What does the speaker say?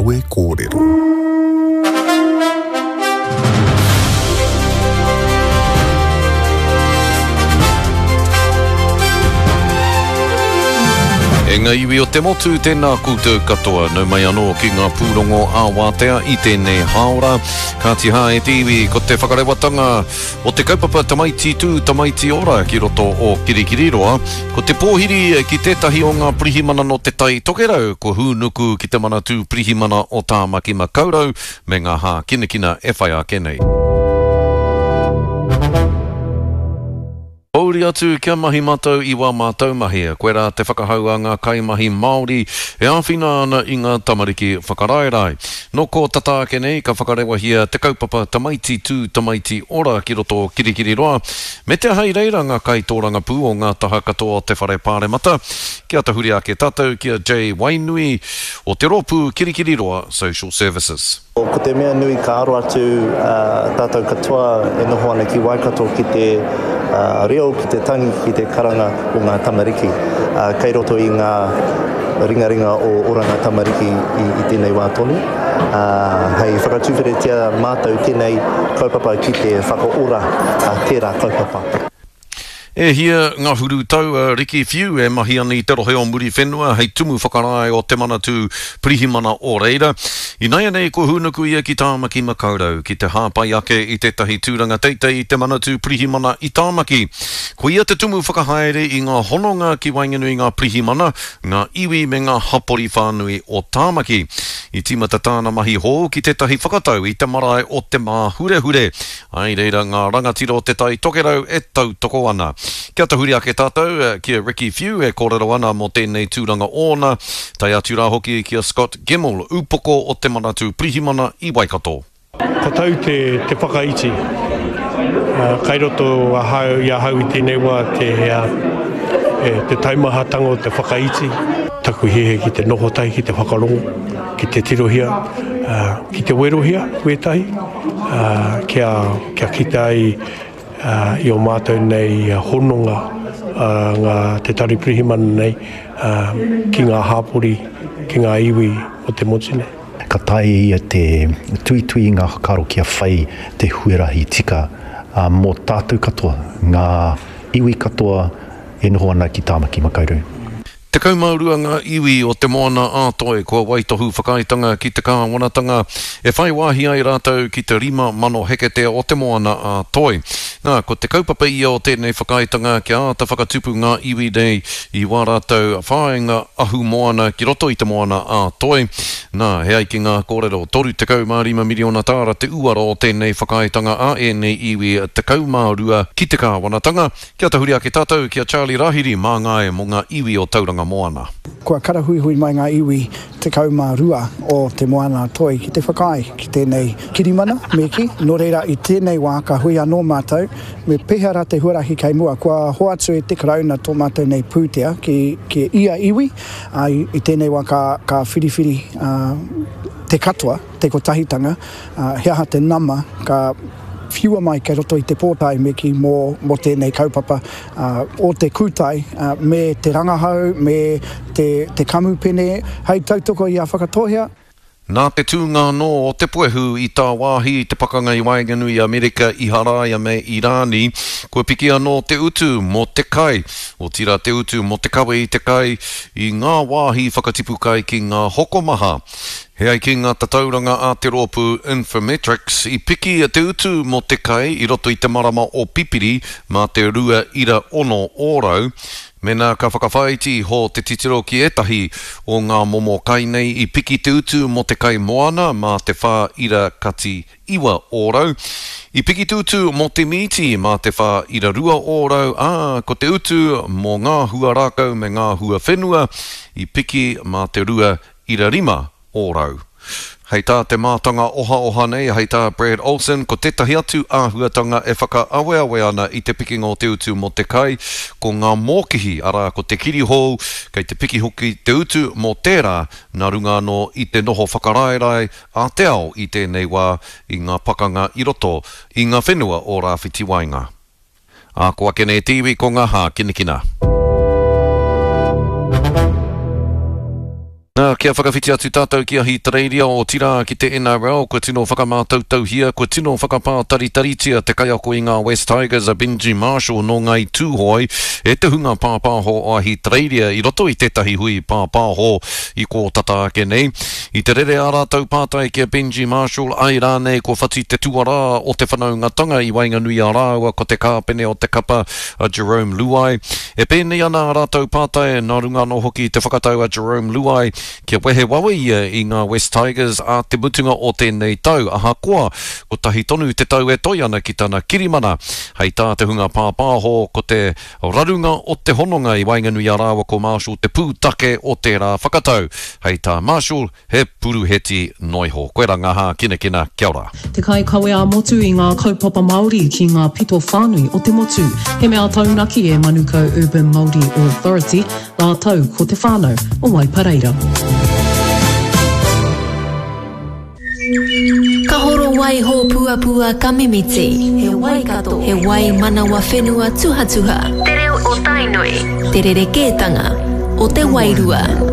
Kawe Kōrero. E ngā iwi o te motu, tēnā koutou katoa. Nau mai anō ki ngā pūrongo ā-wātea i tēnei hāora. Kāti hā e te iwi, ko te whakarewatanga o te kaupapa Tamaiti Tū, Tamaiti Ora ki roto o Kirikiriroa, ko te pōhiri ki tētahi o ngā pirihimana nō Te Tai Tokerau kua hūnuku ki te Manatū Pirihimana o Tāmaki Makaurau me ngā hākinakina e whai ake nei. Pōuri atu kia mahi matou i wā mātou mahi, koirā te whakahau a ngā kaimahi Māori e āwhina ana i ngā tamariki whakaraerae. Nō kō tata ake nei ka whakarewahia te kaupapa Tamaiti Tū Tamaiti Ora ki roto o Kirikiriroa, me te aha i reira ngā kaitōrangapū o ngā taha katoa o te Whare Pāremata. Kia tahuri ake tātou ki a Jay Wainui o te rōpū Kirikiriroa Social Services. Ko te mea nui ka aro atu tātou katoa e noho ana ki Waikato ki te reo, ki te tangi, ki te karanga o ngā tamariki. Kei roto i ngā ringaringa o Oranga Tamariki i tēnei wā tonu. Hei whakatuwheretia mātou tēnei kaupapa ki te whakaora tērā kaupapa. E hia ngahuru tau a Ricky Whiu e mahi ana i te rohe o Muriwhenua hei tumu whakarae o Te Manatū Pirihimana o reira. Inaianei kua hūnuku ia ki Tāmaki Makaurau ki te hāpai ake i tētahi tūranga teitei i Te Manatū Pirihimana i Tāmaki. Ko ia te tumu whakahaere i ngā hononga ki waenganui i ngā pirihimana, ngā iwi me ngā hapori whānui o Tāmaki. I tīmata tāna mahi hou ki tētahi whakatau i te marae o Te Māhurehure. I reira ngā rangatira o Te Tai Tokerau e tautoko ana. Kia tahuri ake tātou ki a Ricky Whiu e kōrero ana mō tēnei tūranga ōna, tae atu rā hoki ki a Scott Gemmell, ūpoko o Te Manatū Pirihimana i Waikato. Ka tau te te whakaiti. Kai roto ahau i ahau i tēnei wā te te taumahatanga o te whakaiti. Taku hiahia ki te noho tahi, ki te whakarongo, ki te tirohia, ki te werohia wētahi. Kia, kia kite ai i ō mātou nei hononga ngā, te Tari Pirihimana nei ki ngā hāpori, ki ngā iwi o te motu nei. Ka taea e ia te tuitui i ngā whakaaro kia whai te huarahi tika mō tātou katoa, ngā iwi katoa e noho ana ki Tāmaki Makaurau. 12 ngā iwi o Te Moana a Toi kua waitohu whakaaetanga ki te kāwanatanga e whai wāhi ai rātou ki te 5,000 heketea o Te Moana a Toi. Nā, ko te kaupapa ia o tēnei whakaaetanga kia āta whakatupu ngā iwi nei i wā rātou whāinga ahumoana ki roto i Te Moana a Toi. Nā, e ai ki ngā kōrero, 35 miriona tāra te uara o tēnei whakaaetanga a ēnei iwi 12 ki te kāwanatanga. Kia tahuri ake tātou ki a Charlie Rahiri, māngai mō ngā iwi o Tauranga Moana. Kua karahuihui mai ngā iwi 12 o Te Moana-a-Toi ki te whakaae ki tēnei kirimana, me kī. Nō reira, i tēnei wā ka hui anō mātou, me pēhea rā te huarahi kei mua. Kua hoatu e te Karauna tō mātou nei pūtea ki, ki ia iwi, ā, i tēnei wā ka, ka whiriwhiri te katoa, te kotahitanga, he aha te nama ka whiua mai kei roto i te pōtae me kī mō, mō tēnei kaupapa o te kūtai me te rangahau, me te, te kamupene hei tautoko i a Whakatōhea. Nā te tūnga anō o te puehu i tāwāhi i te pakanga i waenganui i Amerika, Iharaia me Irāni, kua piki anō te utu mō te kai, otirā te utu mō te kawe i te kai i ngā wāhi whakatipu kai ki ngā hokomaha. He ai ki ngā tatauranga a te rōpū Infometrics, i piki te utu mō te kai i roto i te marama o Pipiri mā te 2.6 ōrau. Mēnā ka whakawhāiti iho te titiro ki ētahi o ngā momo kai nei, i piki te utu mō te kai moana mā te 4.9 ōrau, i piki te utu mō te mīti mā te 4.2 ōrau, ā, ko te utu mō ngā hua rākau me ngā hua whenua i piki mā te 2 5%. Hei tā te mātanga ohaoha nei, hei tā Brad Olsen, ko tētahi atu āhuatanga e whakaaweawe ana i te pikinga o te utu mō te kai, ko ngā mōkihi, arā, ko te kirihou, kei te piki hoki te utu mō tērā, nā runga anō i te noho whakaraerae a te ao i tēnei wā i ngā pakanga i roto i ngā whenua o Rāwhiti Waenga. Ā, ko ake nei te iwi ko ngā hākinakina. Nā, kia whakawhiti atu tātou ki Ahitereiria, otirā ki te NRL, kua tino whakamātautauhia, kua tino whakapātaritaritia te kaiako i ngā West Tigers a Benji Marshall nō Ngāi Tūhoe e te hunga pāpāho o Ahitereiria i roto i tētahi hui pāpāho i kō tata ake nei. I te rere ā rātou pātai ki a Benji Marshall, āe rānei kua whati te tuarā o te whanaungatanga i waenganui i a rāua ko te kāpene o te kapa a Jarome Luai. E pēnei ana ā rātou pātai, nā runga anō hoki i te whakatau a Jarome Luai kia wehe wawe ia i ngā West Tigers ā te mutunga o tēnei tau, ahakoa kotahi tonu te tau e toe ana ki tana kirimana. Hei tā te hunga pāpāho, ko te rarunga o te hononga i waenganui i a rāua ko Marshall te pūtake o tērā whakatau. Hei tā Marshall, He puruheti noiho. Koe ra nga hākinakina, kia ora. Te kaikawe ā-motu i ngā kaupapa Māori ki ngā pito whānui o te motu. He mea taunaki e Manukau Urban Māori Authority rātou ko te whānau o Waipareira. Ka horo wai hōpuapua ka mimiti. He Waikato. He wai manawa whenua tuhatuha. Te reo o Tainui. Te rerekētanga o te wairua.